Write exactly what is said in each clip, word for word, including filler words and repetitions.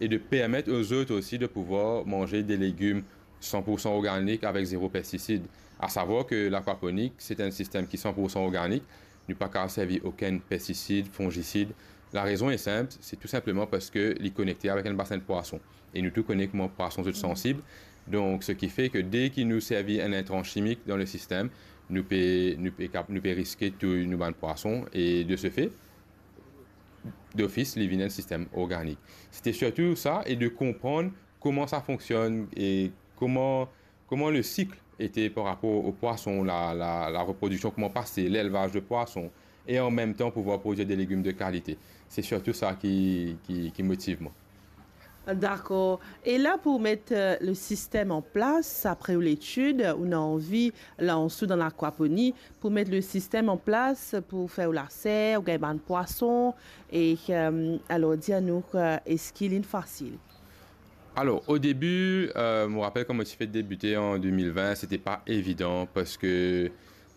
et de permettre aux autres aussi de pouvoir manger des légumes cent pour cent organiques avec zéro pesticide. À savoir que l'aquaponie, c'est un système qui est cent pour cent organique. Nou pa kapav servi okenn pestisid, fongisid. La rezon est simple, c'est tout simplement parce que li konekte avec un bassin de poisson. Et nous tous connaissons comment poisson est sensible. Donc, ce qui fait que dès que nous servons un intrant chimique dans le système, nous pe, nou pe kap-, nou pe riske touy nou bann pwason. Et de ce fait, d'office, li vinn un système organique. C'était surtout ça, et de comprendre comment ça fonctionne et comment, comment le cycle était par rapport aux poissons, la, la, la reproduction, comment passer, l'élevage de poissons, et en même temps pouvoir produire des légumes de qualité. C'est surtout ça qui, qui, qui motive moi. Dakor. E la, pou met, euh, le sistem an plas, apre ou letid, ou ena anvi lans ou dan lakwaponi, pou met le sistem an plas, pou fer ou laser, ou gagn bann pwason, e, euh, alor, dir anou, euh, eski linn fasil? Alors, au début, euh, je me rappelle quand moi j'ai fait débuter en deux mille vingt, c'était pas évident parce que,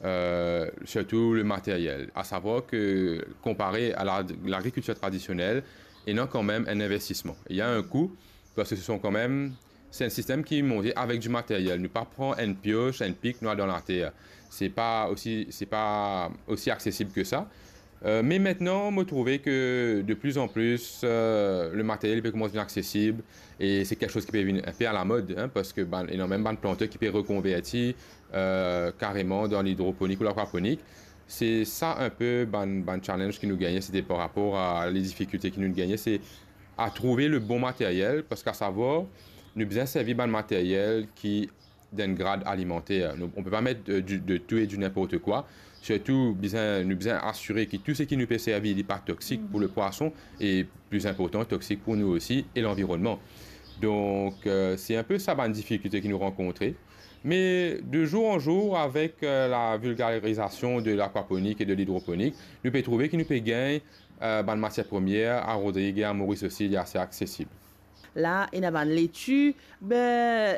euh, surtout le matériel. À savoir que, comparé à la, l'agriculture traditionnelle, il y a quand même un investissement. Il y a un coût parce que ce sont quand même, c'est un système qui est monté avec du matériel. Nou pa pran enn pioch, enn pik, nou al dan later. C'est pas aussi, c'est pas aussi accessible que ça. Euh, mais maintenant, moi, je trouve que de plus en plus, euh, le matériel peut commencer à être accessible et c'est quelque chose qui peut venir un peu à la mode, hein, parce que, ben, il y a même bann planteur qui peut reconvertir, euh, carrément dans l'hydroponique ou l'aquaponique. C'est ça un peu, bann, bann challenge ki nou gagn, c'était par rapport à les difficultés ki nou gagn, c'est à trouver le bon matériel, parce qu'à savoir, nou bizin servi bann matériel ki dan enn grad alimanter. Nou, on peut pas mettre, euh, du, de tout et du n'importe quoi. Surtout, bizin, nou bizin asire ki tou seki nou pe servi, li pa toksik pou le pwason e, pli inportan, toksik pou nou osi e lanvironnman. Donk, euh, c'est un peu ça bann difikilte ki nou rankontre. Mais de jour en jour, avec, euh, la vulgarisation de l'aquaponie et de l'hydroponique, nou pe trouve ki nou pe gagn, euh, bann matier premie a Rodrig e a Moris osi, li ase aksesib. La, ena bann leti. Be,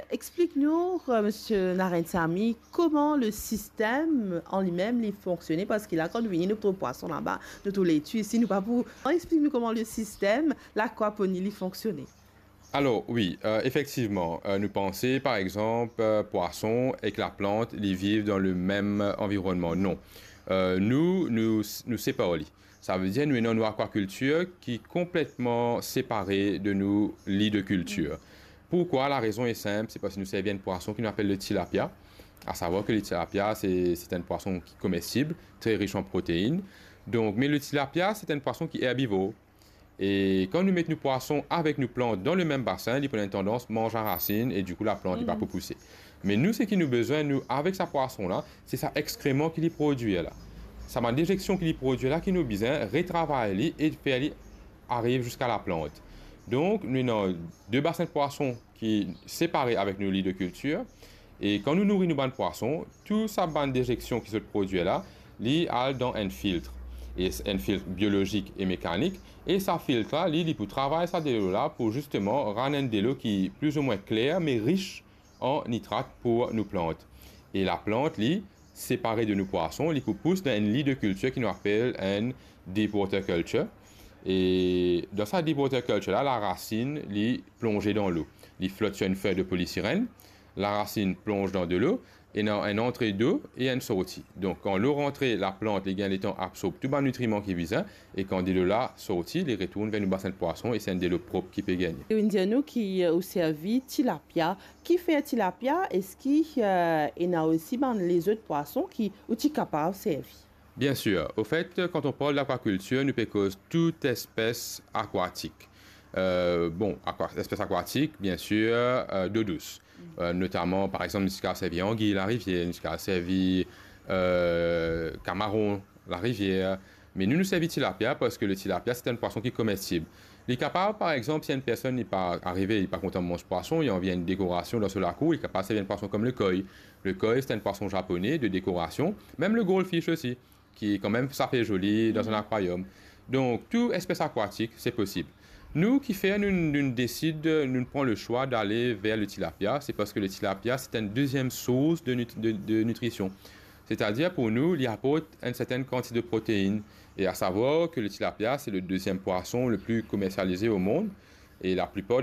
explik nou, euh, Misie Narendsamy, kouma le sistem an limem li fonksione, parski la, kan nou vini, nou trouv pwason laba, nou trouv leti isi, nou pa pou... Explik nou kouma le sistem lakwaponi li fonksione. Alors, oui, euh, effectivement, euh, nou panse, par exemple, euh, pwason ek laplant, li viv dan le mem anvironnman. Non. Euh, nou, nou, nou separ li. Savedir nou ena nou akwakiltir ki konpletman separe de nou li de kiltir. Pourquoi? La raison est simple, c'est parce que nou servi enn pwason ki nou apel le tilapia. À savoir que le tilapia, c'est, c'est un poisson qui est comestible, très riche en protéines. Donc, mais le tilapia, c'est un poisson qui est herbivore. E kan nou met nou pwason avek nou plant dan le mem basin, li pou ena tandans manz larasinn e dikou laplant, li pa pou pouse. Me nou, seki nou bizin, nou, avek sa pwason la, se sa exkreman ki li prodwir la. Sa bann dezeksion ki li prodwir la, ki nou bizin retravay li e fer li ariv ziska laplant. Donk, nou ena de basin pwason ki separe avek nou li de kiltir. E kan nou nouri nou bann pwason, tou sa bann dezeksion ki zot prodwir la, li al dan enn filtr. E s-, enn filtr biolozik e mekanik. E sa filtr la, li, li pou travay sa delo la pou zisteman rann enn delo ki plizoumwin kler, me ris an nitrat pou nou plant. E laplant, li, separe de nou pwason, li pou pous dan enn li de kiltir ki nou apel enn deep water culture. E dan sa deep water culture la, larasinn, li plonze dan lo. Li flot sir enn fey de polisirèn, larasinn plonz dan delo, ena enn antre dlo e enn sorti. Donk, kan lo rantre, laplant, li gagn letan absorb tou bann nitriman ki bizin, e kan delo la sorti, li retourn ver nou basin pwason e se enn delo prop ki pe gagne. Ou inn dir nou ki, euh, ou servi tilapia. Kifer tilapia? Eski, euh, ena osi bann lezot pwason ki ou ti kapav servi? Bien sûr. Au fait, quand on parle d'aquaculture, nou pe koz tout espes akwatik. Euh, bon, akwa-, espes akwatik, bien sûr, euh, dlo dous. Euh, notaman, par exemple, nou ti kapav servi angiy larivier, nou ti kapav servi, euh, kamaron larivier. Me nou, nou servi tilapia parski le tilapia, se enn pwason ki komestib. Li kapav, par exemple, si enn personn, li pa arive, li pa kontan manz pwason, li anvi enn dekorasion dan so lakour, li kapav servi enn pwason kom le koi. Le koi, se enn pwason zapone de dekorasion. Mem le goldfish osi, ki kanmem sa fer zoli dan enn akwariom. Donk, tou espes akwatik, se posib. Nou, kifer nou, nou desid, nou pran le swa dale ver le tilapia, se parski le tilapia, se enn deziem sours de nit-, de, de nitrision. Setadir, pou nou, li aport enn sertenn kantite de protein. E a savwar ke le tilapia, se le deziem pwason le pli komersialize o mond. E laplipar